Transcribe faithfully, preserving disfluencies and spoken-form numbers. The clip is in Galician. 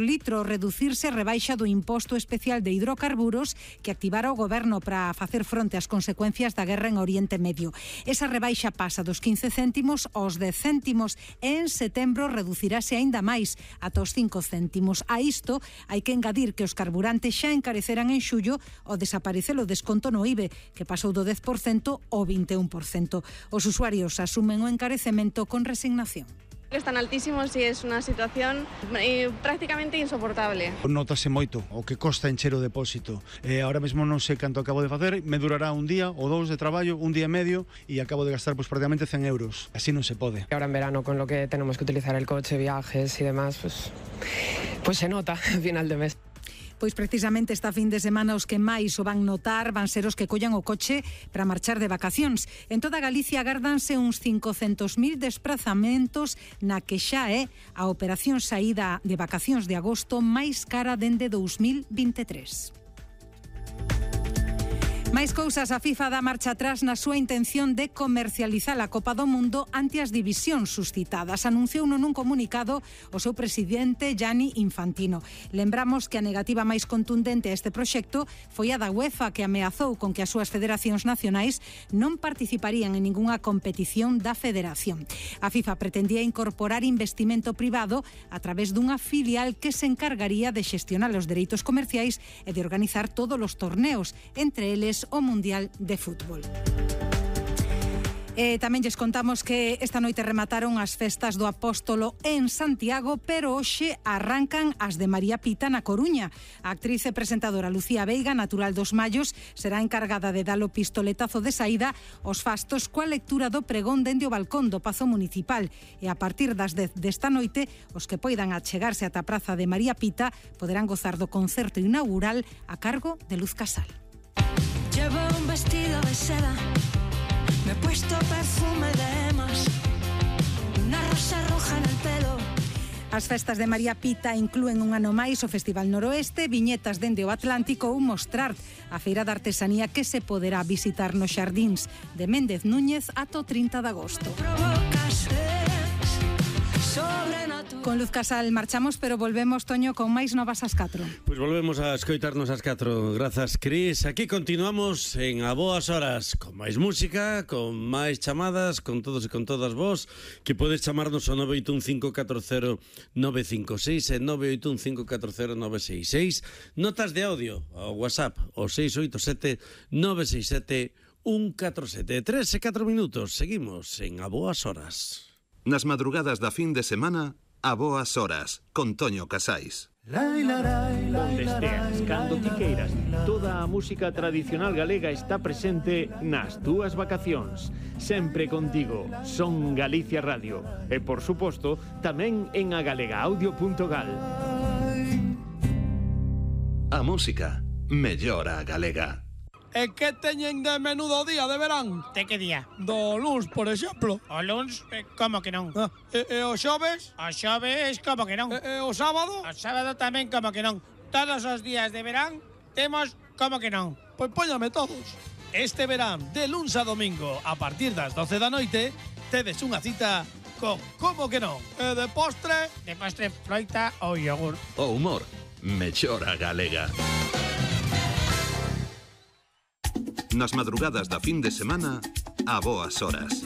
por litro reducirse a rebaixa do imposto especial de hidrocarburos que activara o goberno para facer fronte ás consecuencias da guerra en Oriente Medio. Esa rebaixa pasa dos quince céntimos aos dez céntimos e en setembro reducirase aínda máis ata os cinco céntimos. A isto hai que engadir que os carburantes xa encareceran en xullo ao desaparecer o desconto no I B E, que pasou do dez por cento ao vinte e un por cento. Os usuarios asumen o encarecemento con resignación. Están altísimos e é unha situación eh, prácticamente insoportable. Notase moito o que costa encher o depósito. Eh, ahora mesmo non sei canto acabo de facer, me durará un día ou dous de traballo, un día e medio, e acabo de gastar pues, prácticamente cen euros. Así non se pode. Ahora en verano, con lo que tenemos que utilizar el coche, viajes y demás, pues, pues se nota al final de mes. Pois precisamente esta fin de semana os que máis o van notar van ser os que collan o coche para marchar de vacacións. En toda Galicia agárdanse uns cincocentos mil desprazamentos na que xa é a operación saída de vacacións de agosto máis cara dende dous mil vinte e tres. Máis cousas, a FIFA dá marcha atrás na súa intención de comercializar a Copa do Mundo ante as divisións suscitadas. Anunciouno nun comunicado o seu presidente Gianni Infantino. Lembramos que a negativa máis contundente a este proxecto foi a da UEFA, que ameazou con que as súas federacións nacionais non participarían en ningunha competición da federación. A FIFA pretendía incorporar investimento privado a través dunha filial que se encargaría de xestionar os dereitos comerciais e de organizar todos os torneos, entre eles o Mundial de Fútbol. E tamén lles contamos que esta noite remataron as festas do Apóstolo en Santiago, pero hoxe arrancan as de María Pita na Coruña. A actriz e presentadora Lucía Veiga, natural dos Mallos, será encargada de dar o pistoletazo de saída aos fastos coa lectura do pregón dende o balcón do Pazo Municipal. E a partir das dez desta noite, os que poidan achegarse ata a praza de María Pita poderán gozar do concerto inaugural a cargo de Luz Casal. Llevo un vestido de seda, me he puesto perfume de emas, una rosa roja en el pelo. As festas de María Pita inclúen un ano máis o Festival Noroeste, viñetas dende o Atlántico ou Mostrart, a feira de artesanía que se poderá visitar nos xardíns de Méndez Núñez ata o trinta de agosto. Con Luz Casal marchamos, pero volvemos, Toño, con máis novas ás catro. Pois volvemos a escoitarnos ás catro. Grazas, Cris. Aquí continuamos en A Boas Horas, con máis música, con máis chamadas, con todos e con todas vos, que podes chamarnos ao nove oito un cinco catro cero nove cinco seis e nove oito un cinco catro cero nove seis seis. Notas de audio ao WhatsApp, o seis oito sete nove seis sete un catro sete. Tres e catro minutos. Seguimos en A Boas Horas. Nas madrugadas da fin de semana, A Boas Horas, con Toño Casais. Onde esteas, cando ti queiras, toda a música tradicional galega está presente nas túas vacacións. Sempre contigo, Son Galicia Radio. E, por suposto, tamén en agalegaaudio punto gal. A música mellora a galega. E que teñen de menudo día de verán? De que día? Do luns, por exemplo. O luns? Eh, como que non? Ah, e, e o xoves? O xoves, como que non? E, e o sábado? O sábado tamén, como que non? Todos os días de verán temos como que non? Pois póñame todos. Este verán, de luns a domingo, a partir das doce da noite, tedes unha cita con como que non? E de postre? De postre, froita ou yogur. O humor mellora a galega. Nas madrugadas da fin de semana, A Boas Horas.